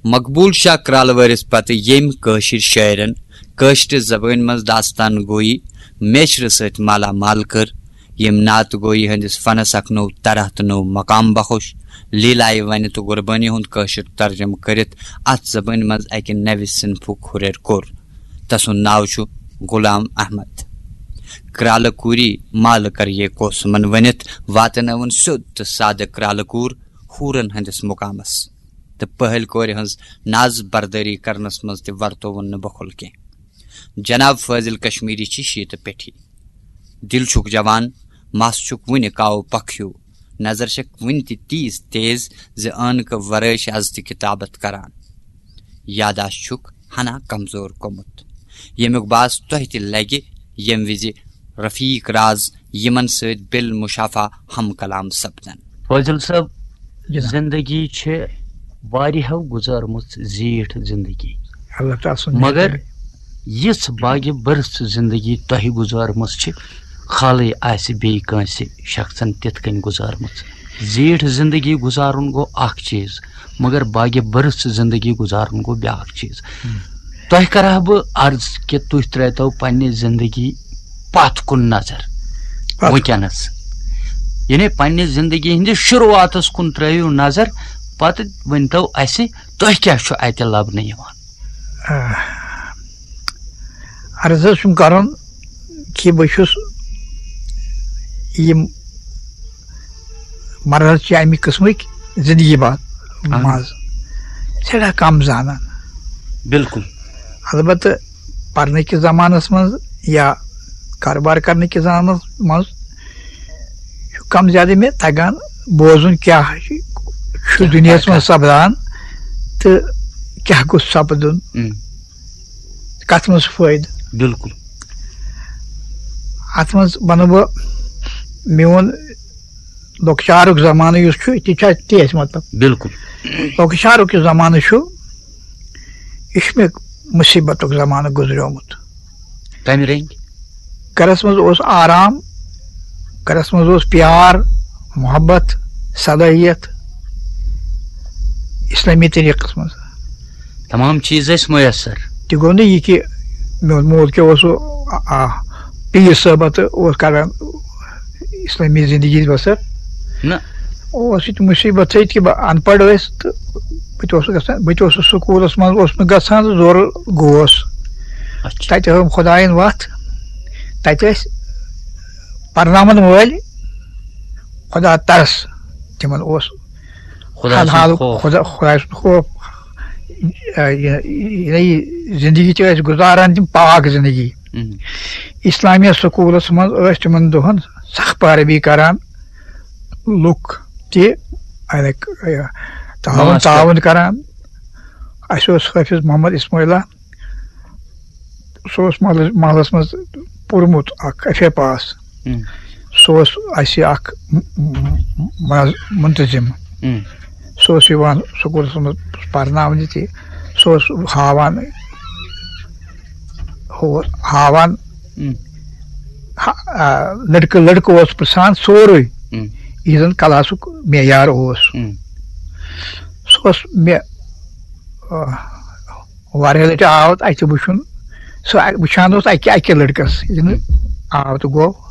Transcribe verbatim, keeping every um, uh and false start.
مقبول شاہ کرالہٕ وٲرِس پتہٕ ییٚمۍ کٲشِر شٲعرن کٲشرِ زبٲنۍ منٛز داستان گویی میچھرٕ سۭتۍ مالا مال کٔر، ییٚمۍ نعت گویی ہٕنٛدِس فنس اکھ نوٚو طرح تہٕ نوٚو مقام بخش، لیلایہِ ونہِ تہٕ قربٲنی ہُنٛد کٲشُر ترجمہٕ کٔرِتھ اتھ زبٲنۍ منٛز اکہِ نوِ صنفُک ہُرٮ۪ر کوٚر۔ تسُنٛد ناو چھُ غلام احمد۔ کرالہٕ کوٗری مالہٕ کر یہ کوسمن ؤنِتھ واتنٲوٕن سیوٚد تہٕ سادٕ کرالہٕ کوٗر حوٗرن ہٕنٛدِس مقامس۔ تہٕ پہلۍ کورِ ہٕنٛز ناز بردٲری کرنس منٛز تہِ ورتووُن نہٕ بخل کینٛہہ۔ جناب فٲضل کشمیری چھِ شیٖتہٕ پیٹھی۔ دِل چھُکھ جوان، مس چھُکھ وُنہِ کاوٕ پکھ ہیوٗ، نظر چھکھ وُنہِ تہِ تیٖژ تیز زِ عٲنکہٕ ورٲے چھِ از تہِ کتابت کران۔ یاداشت چھُکھ ہنا کمزور گوٚمُت، ییٚمیُک باس تۄہہِ تہِ لگہِ، ییٚمہِ وِزِ رفیق راز یِمن سۭتۍ بالمشافہ ہم کلام سپدن۔ فٲضل صٲب، جناب۔ زندگی چھِ واریاہو گُزٲرمٕژ زیٖٹھ زندگی، اللہ تعالیٰ سُنٛد مگر مہربٲنی۔ یِژھ باگہِ بٔرٕژ زندگی تۄہہِ گُزٲرمٕژ چھِ، خالٕے آسہِ بیٚیہِ کٲنٛسہِ شخصن تِتھ کٔنۍ گُزٲرمٕژ۔ زیٖٹھ زندگی گُزارُن گوٚو اکھ چیٖز، مگر باگہِ بٔرٕژ زندگی گُزارُن گوٚو بیٛاکھ چیٖز۔ تۄہہِ کرٕ ہا بہٕ عرض کہِ تُہۍ ترٛٲوتو پننہِ زندگی پتھ کُن نظر پتھ۔ وٕنکیٚنس، یعنی پننہِ زندگی ہٕنٛدِس شروعاتس کُن ترٛٲیِو نظر، پتہٕ ؤنۍتو اسہِ تۄہہِ کیٛاہ چھُ اتہِ لبنہٕ یِوان؟ آ، عرض حظ چھُم کرُن کہِ بہٕ چھُس یِم مرحلہٕ چھِ اَمہِ قٕسمٕکۍ زندگی با-، اہن۔ منٛز سٮ۪ٹھاہ کم زانان۔ بالکل۔ البتہٕ پرنہٕ کِس زمانس منٛز یا کارٕبار کرنہٕ کِس زمانس منٛز چھُ کم زیادٕ مےٚ تگان بوزُن کیٛاہ چھُ، چھُ کیٛاہ دُنیاہس منٛز کیٛاہ۔ سپدان تہٕ کیٛاہ گوٚژھ سپدُن، اۭں۔ کتھ منٛز چھُ فٲیدٕ۔ بالکل۔ اتھ منٛز ونہٕ بہٕ میون لۄکچارُک زمانہٕ یُس چھُ، تہِ چھُ تی اَسہِ مطلب۔ بالکل۔ لۄکچارُک یُس زمانہٕ چھُ، یہِ چھُ مےٚ مُصیٖبتُک زمانہٕ گُزریومُت۔ کمہِ رنگۍ؟ گرس منٛز اوس آرام، گرس منٛز اوس پیار، محبت، صلٲحیت، اسلٲمی طریٖقس منٛز۔ تمام چیٖز ٲسۍ میسر۔ تہِ گوٚو نہٕ یہِ کہِ میون مول کیٛاہ اوس سُہ، آ، آ، پیٖر صٲبہ تہٕ اوس کران اسلٲمی زندگی بسر۔ نہ۔ اوس یہِ تہِ مُصیٖبت سۭتۍ کہِ بہٕ ان پڑھ ٲسۍ تہٕ بہٕ تہِ اوسُس گژھان، بہٕ تہِ اوسُس سکوٗلس منٛز اوسُس نہٕ گژھان تہٕ زورٕ گوس۔ اچھا۔ تتہِ ہٲوٕم خۄدایَن وتھ۔ تتہِ ٲسۍ پرناوَن وٲلۍ خۄدا ترس، تِمن اوس خۄداے سُنٛد حلال خوف۔ خۄدا، خۄداے سُنٛد خوف۔ آ، یہِ، یہِ، یہِ زندگی تہِ ٲسۍ گُزاران تِم پاک زندگی۔ اۭں۔ اسلامیہ سکوٗلس منٛز ٲسۍ تِمن دۄہن سخ پیروی کران لُکھ تہِ، یعنی، یہِ، تعاوُن، ماس تہِ۔ تعاوُن کران۔ اَسہِ اوس حٲفظ محمد اسماعیلہ، سُہ اوس محلس، محلس منٛز پوٚرمُت اکھ ایف اے پاس۔ اۭں۔ سُہ اوس اَسہِ اکھ م-، م-، منظ-، منتظم۔ اۭں۔ سُہ اوس یِوان سکوٗلس منٛز پرناونہِ تہِ۔ سُہ اوس ہاوان، ہُہ اوس ہاوان، اۭں۔ ہا-، آ، لڑکہٕ، لڑکہٕ اوس پرژھان سورُے، اۭں۔ یہِ زن کلاسُک معیار اوس۔ اۭں۔ سُہ اوس مےٚ، آ، واریاہ لٹہِ آو تہٕ اَتہِ وٕچھُن، سُہ اَ-، وٕچھان اوس اَکہِ، اَکہِ لٔڑکَس، ییٚلہِ نہٕ آو تہٕ گوٚو،